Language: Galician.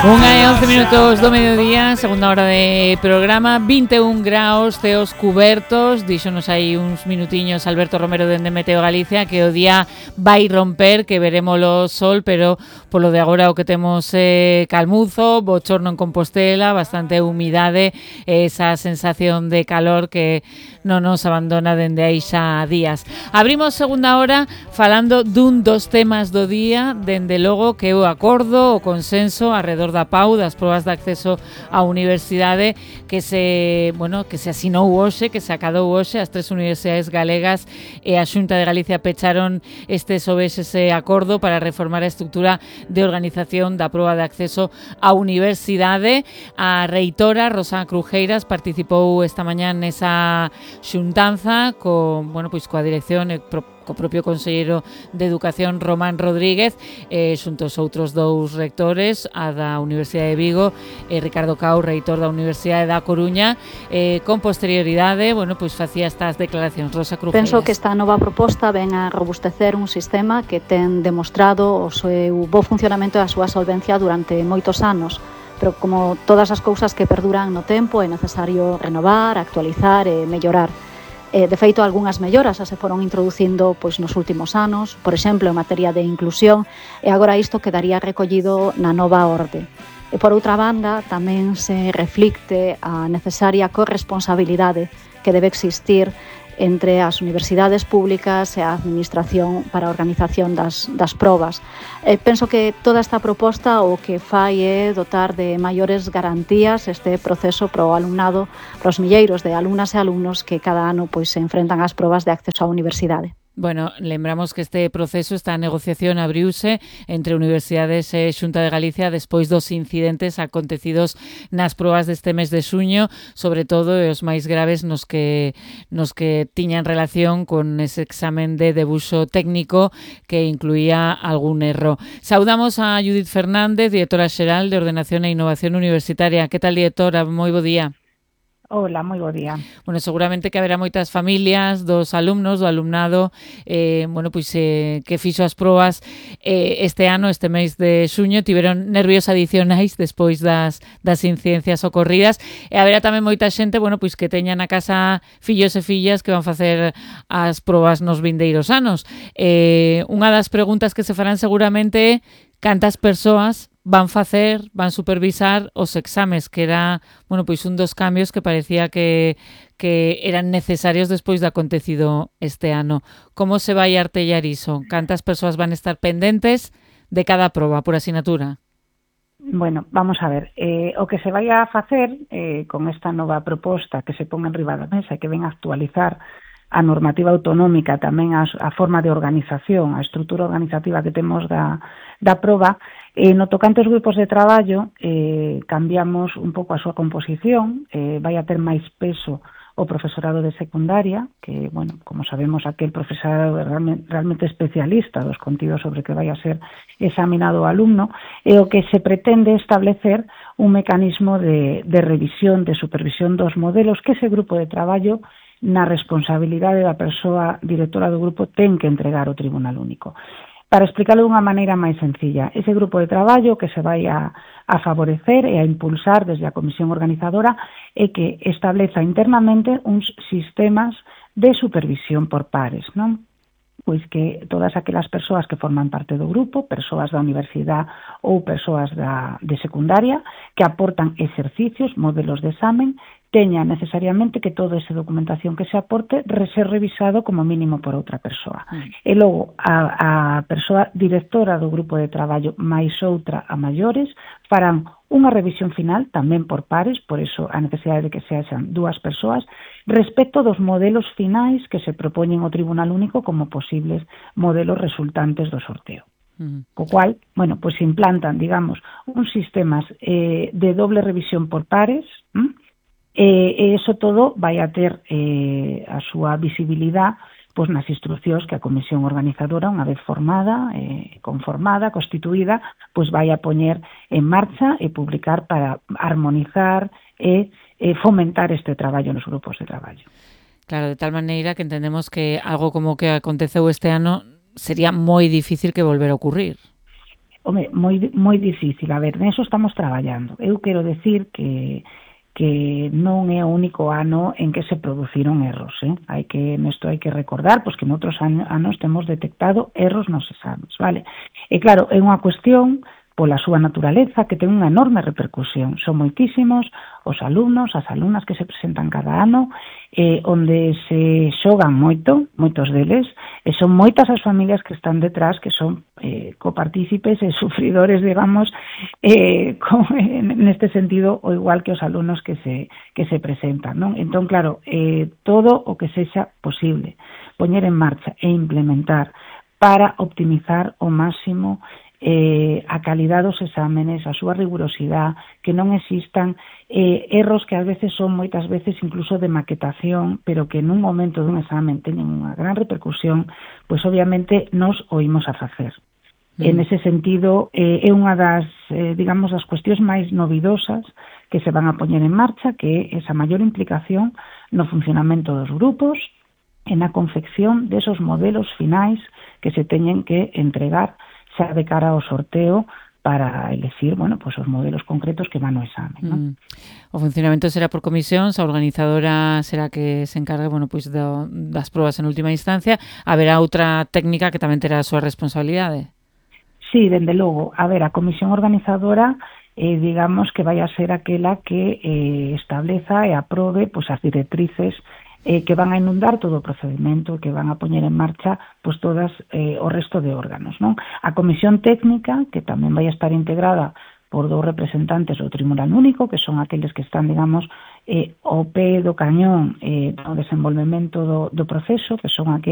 1:11 do mediodía, segunda hora de programa, 21 graus, ceos cubertos. Díxonos aí uns minutiños Alberto Romero dende Meteo Galicia que o día vai romper, que veremos o sol, pero polo de agora o que temos calmuzo, bochorno en Compostela, bastante humidade, esa sensación de calor que non nos abandona dende aí xa días. Abrimos segunda hora falando dun dos temas do día, dende logo que o acordo, o consenso arredor da PAU, das probas de acceso á universidade que se asinou hoxe, que se acadou hoxe. As tres universidades galegas e a Xunta de Galicia pecharon ese acordo para reformar a estrutura de organización da proba de acceso á universidade. A reitora Rosa Crujeiras participou esta mañá nesa xuntanza coa dirección e co propio conselleiro de Educación Román Rodríguez, xunto aos outros dous rectores, a da Universidade de Vigo e Ricardo Cao, reitor da Universidade da Coruña. Con posterioridade, facía estas declaracións Rosa Crujeiras. Penso que esta nova proposta ven a robustecer un sistema que ten demostrado o seu bo funcionamento e a súa solvencia durante moitos anos, pero como todas as cousas que perduran no tempo é necesario renovar, actualizar e mellorar. De feito, algunhas melloras se foron introducindo nos últimos anos, por exemplo, en materia de inclusión, e agora isto quedaría recollido na nova orde. E por outra banda, tamén se reflicte a necesaria corresponsabilidade que debe existir entre as universidades públicas e a administración para a organización das probas. Penso que toda esta proposta o que fai é dotar de maiores garantías este proceso para o alumnado, para os milleiros de alumnas e alumnos que cada ano se enfrentan ás probas de acceso á universidade. Lembramos que este proceso, esta negociación abriuse entre universidades e Xunta de Galicia despois dos incidentes acontecidos nas probas deste mes de xuño, sobre todo os máis graves nos que tiñan relación con ese examen de debuxo técnico que incluía algún erro. Saudamos a Judith Fernández, directora xeral de Ordenación e Innovación Universitaria. Que tal, directora? Moi bo día. Hola, moi bo día. Seguramente que haberá moitas familias dos alumnos, do alumnado, que fixo as probas este ano, este mes de xuño, tiveron nervios adicionais despois das incidencias ocorridas, e haberá tamén moita xente, que teña na casa fillos e fillas que van facer as probas nos vindeiros anos. Unha das preguntas que se farán seguramente é cantas persoas van supervisar os exames, que era, un dos cambios que parecía que eran necesarios despois do acontecido este ano. Como se vai artellar iso? Cantas persoas van estar pendentes de cada proba por asignatura? Bueno, vamos a ver, o que se vai a facer con esta nova proposta que se pon en riba da mesa e que ven a actualizar a normativa autonómica, tamén a forma de organización, a estrutura organizativa que temos da proba. No tocante aos grupos de traballo, cambiamos un pouco a súa composición, vai a ter máis peso o profesorado de secundaria, que, como sabemos, aquel profesorado é realmente especialista dos contidos sobre que vai a ser examinado o alumno, e o que se pretende establecer un mecanismo de revisión, de supervisión dos modelos que ese grupo de traballo, na responsabilidade da persoa directora do grupo, ten que entregar ao Tribunal Único. Para explicarlo dunha maneira máis sencilla, ese grupo de traballo que se vai a favorecer e a impulsar desde a comisión organizadora é que estableza internamente uns sistemas de supervisión por pares, non? Pois que todas aquelas persoas que forman parte do grupo, persoas da universidade ou persoas de secundaria, que aportan exercicios, modelos de examen, teña necesariamente que toda esa documentación que se aporte ser revisado como mínimo por outra persoa. E logo, a persoa directora do grupo de traballo máis outra a maiores farán unha revisión final, tamén por pares, por iso a necesidade de que sexan dúas persoas, respecto dos modelos finais que se propoñen ao Tribunal Único como posibles modelos resultantes do sorteo. Co cual, se implantan, digamos, uns sistemas de doble revisión por pares, e iso todo vai a ter a súa visibilidade nas instruccións que a comisión organizadora, unha vez formada, conformada, constituída, vai a poñer en marcha e publicar para armonizar e fomentar este traballo nos grupos de traballo. Claro, de tal maneira que entendemos que algo como que aconteceu este ano sería moi difícil que volver a ocurrir. Home, moi difícil. A ver, neso estamos traballando. Eu quero decir que non é o único ano en que se produciron erros, Nesto hai que recordar pois que noutros anos temos detectado erros nos exames, vale? E claro, é unha cuestión pola súa naturaleza que ten unha enorme repercusión. Son moitísimos os alumnos, as alumnas que se presentan cada ano, onde se xogan moitos deles, e son moitas as familias que están detrás, que son copartícipes e sufridores, digamos, neste sentido, o igual que os alumnos que se presentan, non? Entón, claro, todo o que sexa posible poñer en marcha e implementar para optimizar ao máximo a calidad dos exámenes, a súa rigurosidade, que non existan erros que ás veces son moitas veces incluso de maquetación, pero que nun momento dun examen teñen unha gran repercusión, pois obviamente nos oímos a facer. En ese sentido, é unha das, digamos, das cuestións máis novidosas que se van a poñer en marcha, que é esa maior implicación no funcionamento dos grupos e na confección desos modelos finais que se teñen que entregar xa de cara ao sorteo para elegir, bueno, pues os modelos concretos que van ao exame, non? O funcionamento será por comisións, a organizadora será que se encargue, bueno, pois das probas en última instancia. Haberá outra técnica que tamén terá a súa responsabilidade? Sí, dende logo. A ver, a comisión organizadora digamos que vai a ser aquela que estableza e aprobe pois as directrices que van a inundar todo o procedimento, que van a poñer en marcha pois todas o resto de órganos, non? A comisión técnica, que tamén vai a estar integrada por 2 representantes do Tribunal Único, que son aqueles que están, digamos, ao pé do cañón no desenvolvemento do proceso, que son aqueles